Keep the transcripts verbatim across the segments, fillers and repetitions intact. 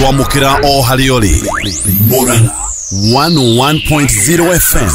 Twamũkĩra o harĩa ũrĩ. Murang'a one oh one point zero F M.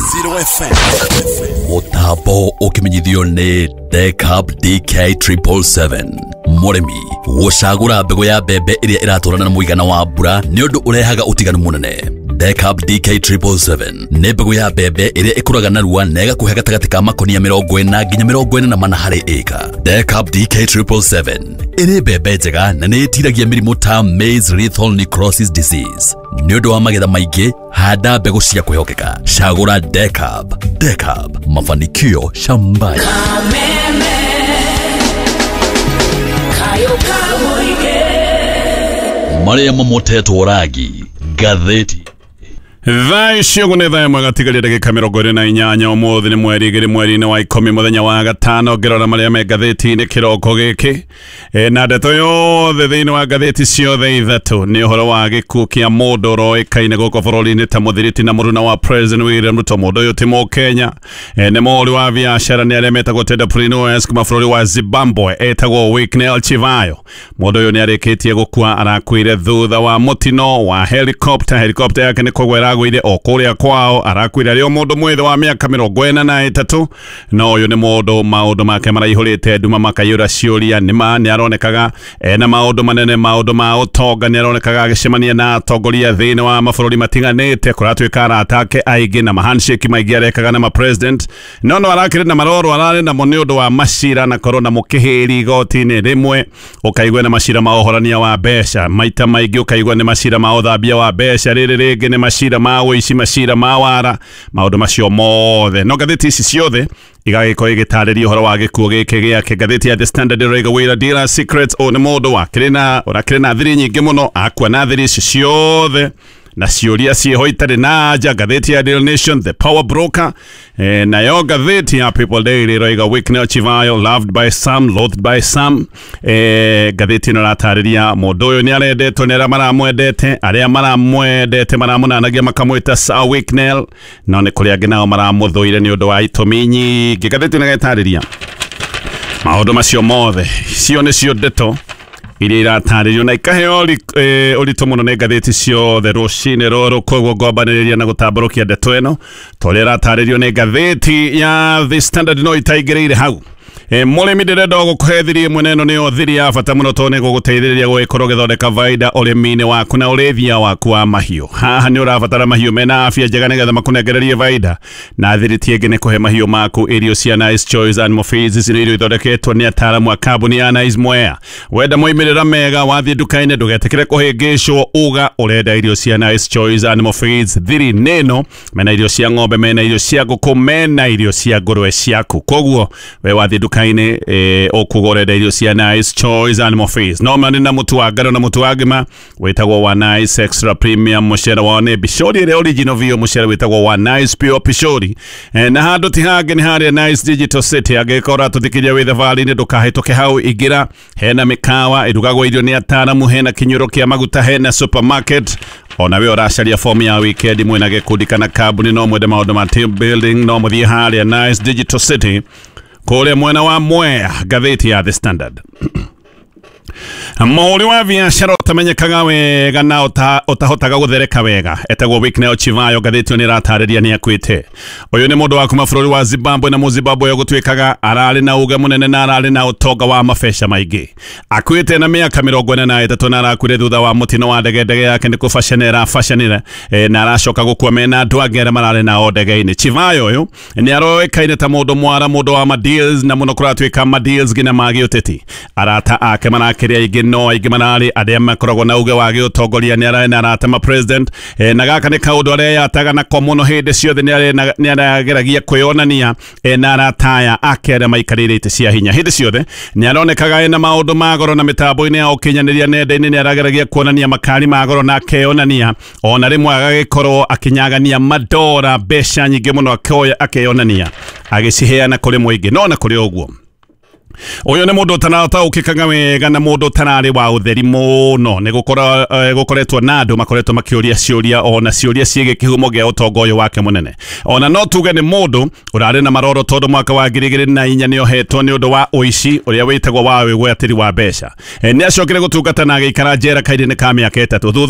Mũtambo ũkĩmenyithio nĩ Decab D K seven seven seven. Mũrĩmi gũcagũra mbegũ ya mbembe ĩrĩa ĩratwarana na mũigana wa mbura nĩ ũndũ ũrehaga ũtiganu mũnene. Decab D K seven seven seven nĩ mbegũ ya mbembe ĩrĩa ĩkũraga narua na ĩgakũhe gatagatĩ ka makonia mĩrongo ĩna nginya mĩrongo ĩna na mana harĩ ĩka. Decab D K seven seven seven ĩrĩ mbembe njega na nĩ ĩtiragia mĩrimũ ta maize lethal necrosis disease. Nĩ ũndũ wa magetha maingĩ, handa mbegũ cia kwĩhokeka. Cagũra Decab. Decab, mafanikio shambani. Kameme kayo kamũingĩ. Marĩa mamotetwo rangi ngathĩti. Thaa icio ũguo nĩ thaa ĩmwe gatigaria ndagĩka mĩrongo ĩrĩ na inyanya. Ũmũthĩ nĩ mweri igĩrĩ mweri-inĩ wa ikũmi, mũthenya wa gatano. Ngĩrora marĩa me ngathĩti-inĩ kĩroko gĩkĩ, e, na ndeto yothe thĩinĩ wa ngathĩti ciothe ithatũ nĩ ũhoro wa gĩkuũ kĩa mũndũ ũroĩkaine gũkũ bũrũri-inĩ ta mũthiriti na mũruna wa President William Ruto. Mũndũ ũyũ ti Mũkenya, e, nĩ mũhũri wa biacara, nĩ arĩa metagwo entrepreneurs kuma bũrũri wa Zimbabwe, etagwo Wicknell Chivayo. Mũndũ ũyũ nĩ arĩkĩtie gũkua, arakuire thutha wa mũtino wa helicopter. Helicopter yake nĩ kũgwa ĩragũire o kũrĩa kwao. Arakuire arĩ o mũndũ mwĩthĩ wa mĩaka mĩrongo ĩna na ĩtatũ. No ũyũ nĩ mũndũ maũndũ make maraihũrĩte nduma, makaiyũra ciũria. Nĩma nĩ aronekaga ena maũndũ manene, maũndũ ma ũtonga, nĩ aronekaga agĩcemania na atongoria thĩinĩ wa mabũrũri matiganĩte. Kũratuĩka arata ake aingĩ na mahandshake maingĩ arekaga na mapresident, no no arakĩrĩ na maroro ararĩ namo nĩ ũndũ wa macira na korwo na mũkĩhĩri igoti-inĩ rĩmwe, ũkaigua na macira ma ũhorania wa mbeca, maita maingĩ ũkaigua nĩ macira ma ũthambia wa mbeca, rĩrĩ rĩngĩ nĩ macira ma ũici, macira ma wara, maũndũ macio mothe. No ngathĩti ici ciothe igagĩkorwo igĩtarĩria ũhoro wa gĩkuũ gĩkĩ gĩake. Ngathĩti ya The Standard ĩroiga wĩra dealer secrets. Ũyũ nĩ mũndũ wakĩrĩ na ũrakĩrĩ na thiri nyingĩ mũno, akua na thiri ici ciothe na ciũria ciĩho itarĩ na anja. Ngathĩti ya Daily Nation, "The Power Broker". eh, nayo ngathĩti ya People Daily ĩroiga "Wicknell Chivayo, loved by some, loathed by some". eh, ngathĩti ĩno ĩratarĩria mũndũ ũyũ nĩ arendetwo nĩ arĩa maramwendete. Arĩa maramwendete maramũnanagia makamwĩta Sir Wicknell, no nĩ kũrĩ angĩ nao maramũthũire nĩ ũndũ wa itũmi nyingĩ. Ngathĩti ĩno ĩgatarĩria maũndũ macio mothe. Cio nĩcio ndeto iria iratarĩrio na ikaheo ri- eh, ũritũ mũno nĩ ngathĩti ciothe rũcinĩ rũrũ. Koguo ngombanĩrĩria na gũtambũrũkia ndeto ĩno ta ũrĩa ĩratarĩrio nĩ ngathĩti ya The Standard, no itaingĩrĩire hau. E, mũrĩmi, ndĩrenda gũkũhe thiri ĩmwe, na ĩno nĩyo thiri ya bata mũno tondũ nĩ gũgũteithĩrĩria gũgĩkorwo ũgĩthondeka baida ũrĩmi-inĩ waku na ũrĩithia waku wa mahiũ. Haha nĩ ũrabatara mahiũ mena afya njega nĩgetha makũnengererie baida, na thiri ti ĩngĩ nĩ kũhe mahiũ maku irio cia Nice Choice Animal Feeds. Ici nĩ irio ithondeketwo nĩ ataaramu a kambuni ya Nice Mwea. Wenda moimĩrĩra mega, wathiĩ nduka-inĩ ndũgetĩkĩre kũhĩngĩcwo, uga ũrenda irio cia Nice Choice Animal Feeds. Thiri nĩ ĩno: mena irio cia ng'ombe, mena irio cia ngũkũ, mena irio cia ngũrwe ciaku. Koguo we wathiĩ nduka-inĩ, eh, ũkuga ũrenda irio cia Nice Choice Animal Feeds. No marĩ na mũtu wa ngano na mũtu wa ngima wĩtagwo wa Nice Extra Premium. Mũcere wao nĩ Pishori ĩrĩa original biũ, mũcere wĩtagwo wa Nice Pure Pishori. eh, na handũ ti hangĩ, nĩ harĩa Nice Digital City. Angĩkorwo ũratũthikĩria wĩ thabarĩ-inĩ, ndũkahĩtũke hau, ingĩra. Hena mĩkawa ĩrugagwo irio nĩ ataaramu, hena kĩnyuĩro kĩa maguta, hena supermarket. Ona we ũracaria fomu ya weekend mwĩna gĩkundi kana kambuni, no mwende maũndũ ma team building, no mũthiĩ harĩa Nice Digital City kũrĩa mwena wa Mwea. Ngathĩti ya The Standard: mũhũri wa biacara ũtamenyekaga wega na ũta- ũtahotaga gũthereka wega etagwo Wicknell Chivayo. Ngathĩti ĩyo nĩ ĩratarĩria nĩ akuĩte. Ũyũ nĩ mũndũ wa kuma bũrũri wa Zimbabwe, na Mũzimbabwe ũyũ gũtuĩkaga ararĩ na uge mũnene na ararĩ na ũtonga wa mabeca maingĩ. Akuĩte na mĩaka mĩrongo ĩna na ĩtatũ, na arakuire thutha wa mũtino wa ndege. Ndege yake nĩ kũbacanĩra ĩrabacanĩra, eh, na aracoka gũkua mena andũ angĩ arĩa mararĩ nao ndege-inĩ. Chivayo ũyũ nĩ aroĩkaine ta mũndũ mwara, mũndũ wa madeals, na mũno kũratuĩka madeals nginya ma gĩũteti. Arata ake marakĩrĩ aingĩ, no aingĩ mararĩ arĩa makoragwo na uge wa gĩũtongoria. Nĩ ararĩ na arata ma president, eh, na gaka nĩ kaũndũ areyataga nako mũno hĩndĩ ciothe. nĩ arĩ- nĩ arageragia kwĩyonania eh, na arata aya ake arĩa maikarĩire itĩ cia hinya. Hĩndĩ ciothe nĩ aronekaga ena maũndũ ma goro, na mĩtambo-inĩ ya ũkinyanĩria nenda-inĩ nĩ arageragia kuonania makari ma goro na akeyonania, ona rĩmwe agagĩkorwo akĩnyagania madora, mbeca nyingĩ mũno, akoya akeyonania agĩciheana kũrĩ mũingĩ. No na kũrĩ ũguo, ũyũ nĩ mũndũ ũtarataũkĩkaga wega na mũndũ ũtararĩ wa ũtheri mũno. Nĩ gũkorwo eh, gũkoretwo na andũ makoretwo makĩũria ciũria, ona ciũria ciĩgiĩ kĩhumo gĩa ũtonga ũyũ wake mũnene. Ona no tuge nĩ mũndũ ũrarĩ na maroro, tondũ mwaka wa ngiri igĩrĩ na inya nĩ ohetwo nĩ ũndũ wa ũici ũrĩa wĩtagwo wa wĩgwatĩri wa mbeca. Eh, nĩ acokire gũtungata na agĩikara njera kairĩ-inĩ ka mĩaka ĩtatũ thutha.